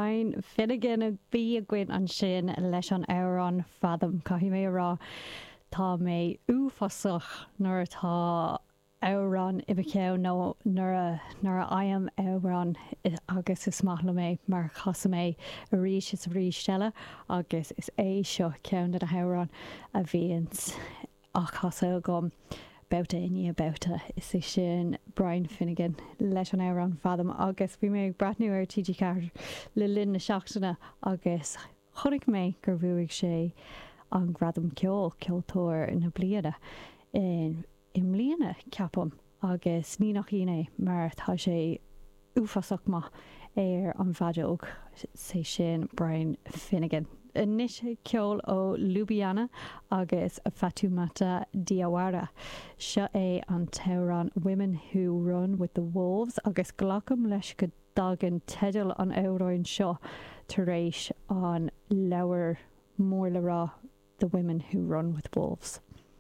Brian Finnegan a bhí againn ansin leis an amhrán Fathom. Caithfidh mé a rá, tá mé uafásach nuair atá amhrán i mo cheann nó nuair a nuair a fhaighim amhrán agus is maith liom é mar casaim é arís is arís eile agus is é seo ceann de na hamhráin a bhíonns á chasadh agam babhta i ndiaidh babhta. Is é sin Brian Finnegan leis an amhrán Fathom agus bhí mé ag breathnú ar TG4 le linn na seachtaine agus chonaic mé gur bhuaigh sé an Gradam Ceoil, Ceoltóir na Bliana i mbliana, ceapaim, agus ní nach ionadh é mar tá sé uafásach maith ar an bhfeadóg, sé sin Brian Finnegan. Anois ceol ó Ljubljana agus Fatoumata Diawara. Seo é an t-amhrán Women Who Run With The Wolves agus glacaim leis go dtagann teideal an amhráin seo tar éis an leabhar mór le rá The Women Who Run With Wolves.